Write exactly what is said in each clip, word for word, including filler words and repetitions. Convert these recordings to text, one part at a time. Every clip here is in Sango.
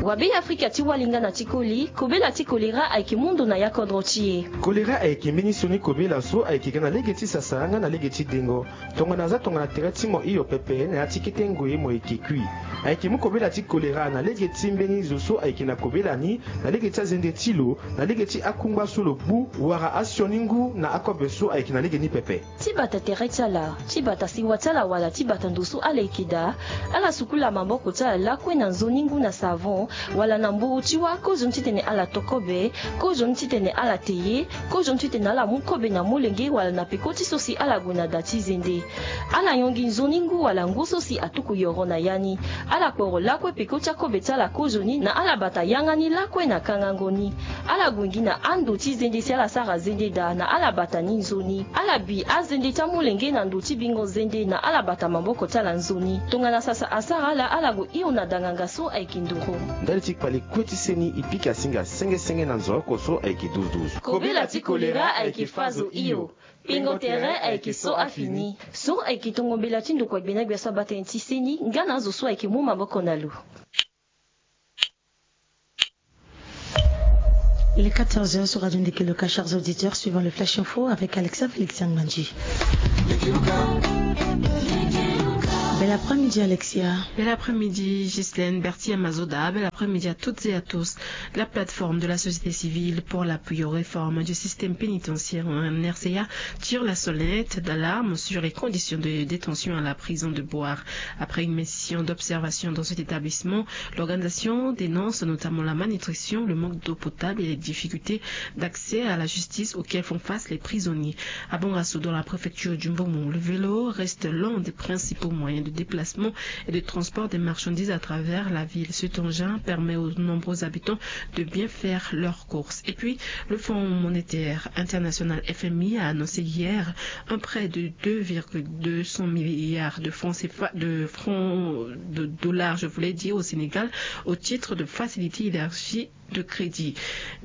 Wa be afrika ti walinga na ti koli kobela ti kolera ayeke mundu na ya kodro ti e. Kolera ayeke mbeni sioni kobela so ayeke ga na lege ti sasara nga na lege ti dengo. Tongana aza tongana tere ti mo hio pepe na ya ti kete ngoi mo yeke kui. Ayeke mu kobela ti kolera na lege ti mbeni zo so ayeke na kobela ni, na lege ti azende ti lo, na lege ti akungba so lo gbu, wala asioni ngu na akobe so ayeke na lege ni pepe. Ti bata tere ti ala, ti bata siwa ti ala wala ti bata ndo so ala yeke daa. Ala sukula maboko ti ala lakue na nzoni ngu na savon, wala na mburu ti wâ kozoni titene ala to kobe, kozoni titene ala te ye, kozoni titene ala mu kobe na molenge wala na peko ti so si ala gue na da ti zende. Ala yongi nzoni ngu wala ngu so si atuku yoro na ya ni. Ala kporo lakue peko ti akobe ti ala kozoni na ala bata yanga ni lakue na kangango ni. Ala gue gi na ando ti zende si ala sara zende daa na ala bata ni nzoni. Ala bi azende ti amolenge na ndo ti bingo zende na ala bata maboko ti ala nzoni. Tongana sasa asara ala, ala gue hio na danganga so ayeke nduru. Ndali ti kpale kue ti seni e pika singa senge senge na nzoroko so ayeke douze douze. Kobela ti kolera ayeke fazo hio. Pingo tere ayeke so afini. So ayeke tongo mbela ti ndokua gbena gbia so abaa tënë ti seni nga na azo so ayeke mu maboko na lo. Il est quatorze heures sur Radio Ndeke Loka. Chers auditeurs, suivons le Flash Info avec Alexa Félix Ngbandji. Bel après-midi, Alexia. Bel après-midi, Ghislaine Bertia Mazoda. Bel après-midi à toutes et à tous. La plateforme de la société civile pour l'appui aux réformes du système pénitentiaire en R C A tire la sonnette d'alarme sur les conditions de détention à la prison de Bouar. Après une mission d'observation dans cet établissement, l'organisation dénonce notamment la malnutrition, le manque d'eau potable et les difficultés d'accès à la justice auxquelles font face les prisonniers. À Bongasso, dans la préfecture du Mbomou, le vélo reste l'un des principaux moyens de déplacement et de transport des marchandises à travers la ville. Cet engin permet aux nombreux habitants de bien faire leurs courses. Et puis, le Fonds monétaire international, F M I, a annoncé hier un prêt de deux virgule deux cents milliards de francs C F A, de francs, de dollars, je voulais dire, au Sénégal, au titre de facilité élargie de crédit.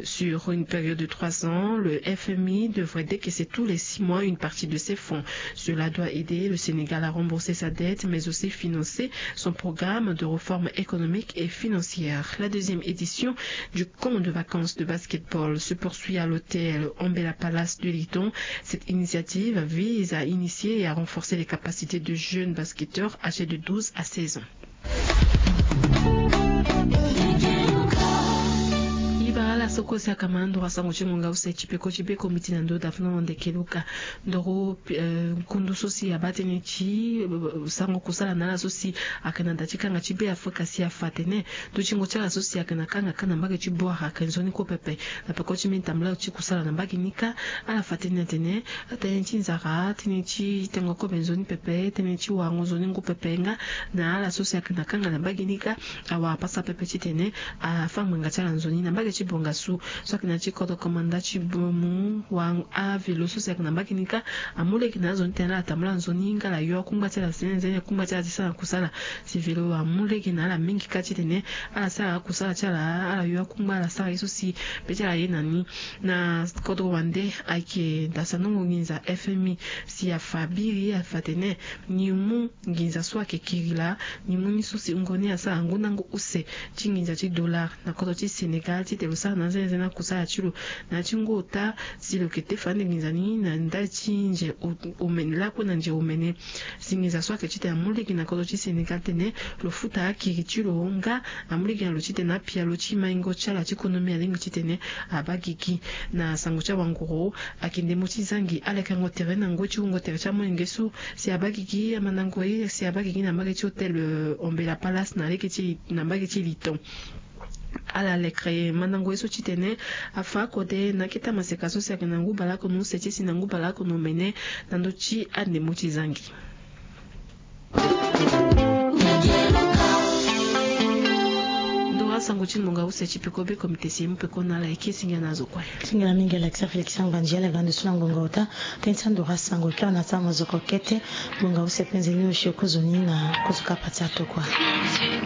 Sur une période de trois ans, le F M I devrait décaisser tous les six mois une partie de ces fonds. Cela doit aider le Sénégal à rembourser sa dette, mais aussi financer son programme de réforme économique et financière. La deuxième édition du camp de vacances de basketball se poursuit à l'hôtel Ambela Palace de Liton. Cette initiative vise à initier et à renforcer les capacités de jeunes basketteurs âgés de douze à seize ans. Ibara la soko si akama ndo wa sango ti ngonga use ti peko ti be komiti na ndo dafno ndeke luka ndoro, eh, nkundu so si abaa tënë ti, eh, sango kusala na ala so si ayeke na da ti kanga ti be afrika si afa atene ndutingo ti ala so si ayeke na kanga kâ na mbage ti Bouar ayeke nzoni kue pepe. Na peko ti mbeni tambula ti kusala na mbage ni kâ, ala fa tënë atene tënë ti nzara, tënë ti tengo kobe nzoni pepe, tënë ti warango nzoni ngu pepe nga na ala so si ayeke na kanga na mbage ni kâ, awara pasa pepe titene afa ngbanga ti ala nzoni. Na mbage ti Bongasso so ayeke na ya ti kodro komanda ti Mbomou, wa avelo so si ayeke na mbage ni kâ amu lege na azo ni titene ala tambula nzoni nga ala yo akungba ti ala si nzene kungba ti ala ti sara kusala. Si velo amu lege na ala mingi kâ titene ala sara akusala ti ala, ala yo akungba ala sara ye so si be ti ala ye na ni. Na kodro wande ayeke dasanongo nginza F M I si afa biri afa atene ni mu nginza so ayeke kiri laa, ni mu ni so si wungo ni asara ngu na ngu use ti nginza ti dollar na kodro ti Sénégal titene lo sara na anzenze na kusala ti lo na ya ti ngu ota si lo yeke te fade nginza ni na ndali ti nze o-, omene lakue na nze omene. Si nginza so ayeke titene amu lege na kodro ti Sénégal titene lo futa akiri ti lo nga amu lege na lo titene apia lo ti maingo ti ala ti konomi alingbi titene abaa gigi. Na sango ti awanguru ayeke ndembo ti zangi ala yeke yango tere na ngoi ti wungo tere ti amolenge so si abaa gigi amandango ye si abaa gigi na mbage ti hôtel, eh, Ombela Palace na lege ti, na mbage ti Liton. Ala lekere mandango ye so titene afa akode na akete amaseka so si ayeke na ngu baleoko na use ti si na ngu baleoko na omene na ndö ti andembo ti zangi. Ndoro asango ti ngonga use ti peko be komite si e mu peko na ala eke singila na azo kue. Singila mingi Alexia Félix Ngbandji ala ga ndo so na ngonga ota. Tënë ti andoro asango e kiri na ti amozoko kete. Ngonga use penze ni osio kozoni na kozo kapa ti atokua.